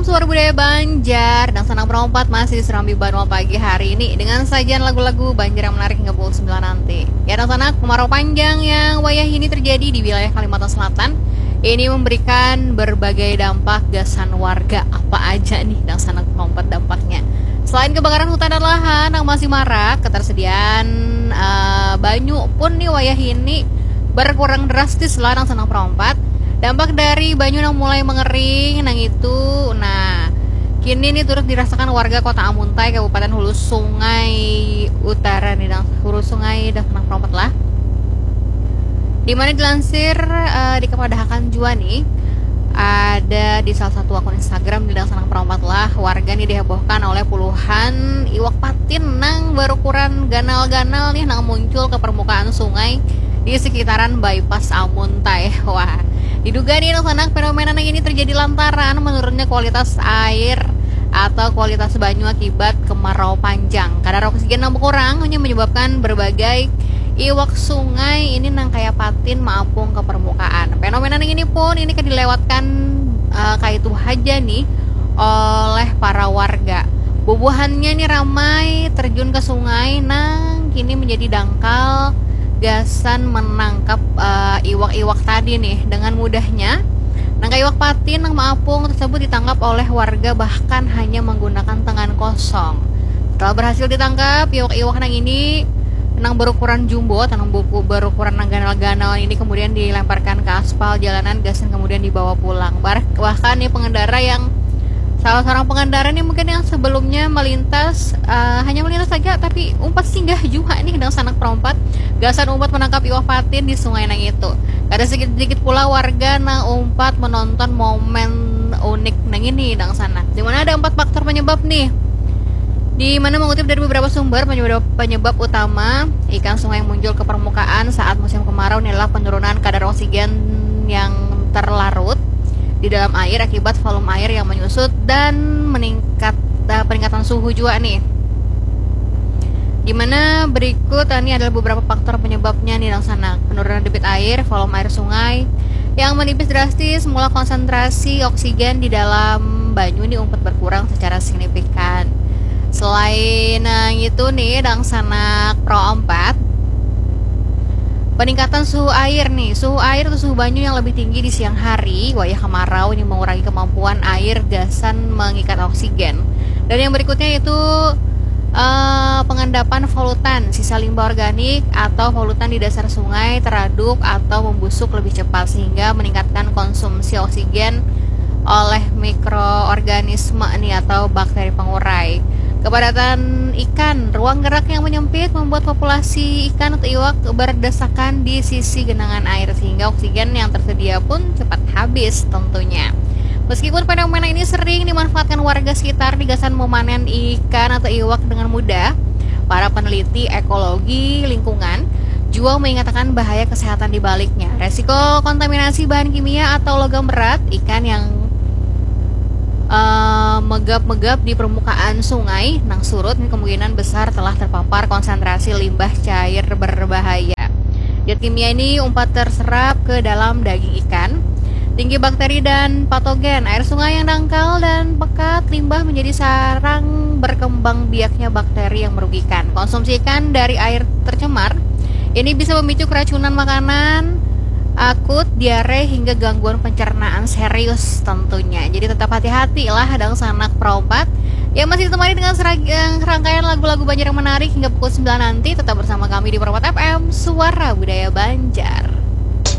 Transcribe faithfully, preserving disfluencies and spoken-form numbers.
Suara Budaya Banjar, Dangsanak Perompat masih serambi banua pagi hari ini dengan sajian lagu-lagu Banjar yang menarik hingga pukul sembilan nanti. Ya, Dangsanak, kemarau panjang yang wayah ini terjadi di wilayah Kalimantan Selatan ini memberikan berbagai dampak gasan warga. Apa aja nih, Dangsanak Perompat, dampaknya? Selain kebakaran hutan dan lahan yang masih marak, ketersediaan eh, banyu pun nih wayah ini berkurang drastis lah, Dangsanak Perompat. Dampak dari banyu nang mulai mengering nang itu, nah, kini nih turut dirasakan warga Kota Amuntai, Kabupaten Hulu Sungai Utara nih, Dang, Hulu Sungai, Dangsanak Perompat lah. Dimana dilansir eh, di kepadahakan jua nih, ada di salah satu akun Instagram di Dangsanak Perompat lah, warga nih dihebohkan oleh puluhan iwak patin nang berukuran ganal-ganal nih, nang muncul ke permukaan sungai di sekitaran bypass Amuntai. Wah, diduga nih, Dangsanak, fenomena nang ini terjadi lantaran menurunnya kualitas air atau kualitas banyu akibat kemarau panjang. Kadar oksigen yang berkurang hanya menyebabkan berbagai iwak sungai ini nang kaya patin maapung ke permukaan. Fenomena nang ini pun ini kan dilewatkan eh, kaitu haja nih oleh para warga. Bubuhannya nih ramai terjun ke sungai nang kini menjadi dangkal gasan menangkap eh, iwak-iwak tadi nih dengan mudahnya. Nang kaya iwak patin nang maapung tersebut ditangkap oleh warga bahkan hanya menggunakan tangan kosong. Setelah berhasil ditangkap, iwak-iwak nang ini nang berukuran jumbo atau nang buku berukuran nang ganal-ganal ini kemudian dilemparkan ke aspal jalanan gasan kemudian dibawa pulang. Bar- bahkan nih pengendara yang salah seorang pengendara nih mungkin yang sebelumnya melintas eh, hanya melintas saja tapi umpat singgah juga nih, Dangsanak Perompat, gasan umpat menangkap iwak patin di sungai nang itu. Kada sedikit-sedikit pula warga nang umpat menonton momen unik nang ini, Dangsanak, di mana ada empat faktor penyebab nih. Di mana mengutip dari beberapa sumber, penyebab, penyebab utama ikan sungai yang muncul ke permukaan saat musim kemarau adalah penurunan kadar oksigen yang terlarut di dalam air akibat volume air yang menyusut dan meningkat eh, peningkatan suhu juga nih. Di mana berikut ini adalah beberapa faktor penyebabnya nih, Dangsanak. Penurunan debit air, volume air sungai yang menipis drastis, mula konsentrasi oksigen di dalam banyu nih umpat berkurang secara signifikan. Selain eh, itu nih, Dangsanak Pro empat, peningkatan suhu air nih. Suhu air atau suhu banyu yang lebih tinggi di siang hari, wayah kemarau, ini mengurangi kemampuan air gasan mengikat oksigen. Dan yang berikutnya itu eh, pengendapan polutan, sisa limbah organik atau polutan di dasar sungai teraduk atau membusuk lebih cepat sehingga meningkatkan konsumsi oksigen oleh mikroorganisme nih atau bakteri pengurai. Kepadatan ikan, ruang gerak yang menyempit membuat populasi ikan atau iwak berdesakan di sisi genangan air sehingga oksigen yang tersedia pun cepat habis tentunya. Meskipun fenomena ini sering dimanfaatkan warga sekitar di gasan memanen ikan atau iwak dengan mudah, para peneliti ekologi lingkungan juga mengatakan bahaya kesehatan di baliknya. Resiko kontaminasi bahan kimia atau logam berat, ikan yang eh, megap-megap di permukaan sungai nang surut ini kemungkinan besar telah terpapar konsentrasi limbah cair berbahaya. Zat kimia ini umpat terserap ke dalam daging ikan. Tinggi bakteri dan patogen, air sungai yang dangkal dan pekat, limbah menjadi sarang berkembang biaknya bakteri yang merugikan. Konsumsi ikan dari air tercemar ini bisa memicu keracunan makanan, akut, diare, hingga gangguan pencernaan serius tentunya. Jadi tetap hati-hati lah, Dangsanak Pro empat yang masih ditemani dengan serag- eh, rangkaian lagu-lagu Banjar yang menarik hingga pukul sembilan nanti. Tetap bersama kami di Pro empat F M, Suara Budaya Banjar.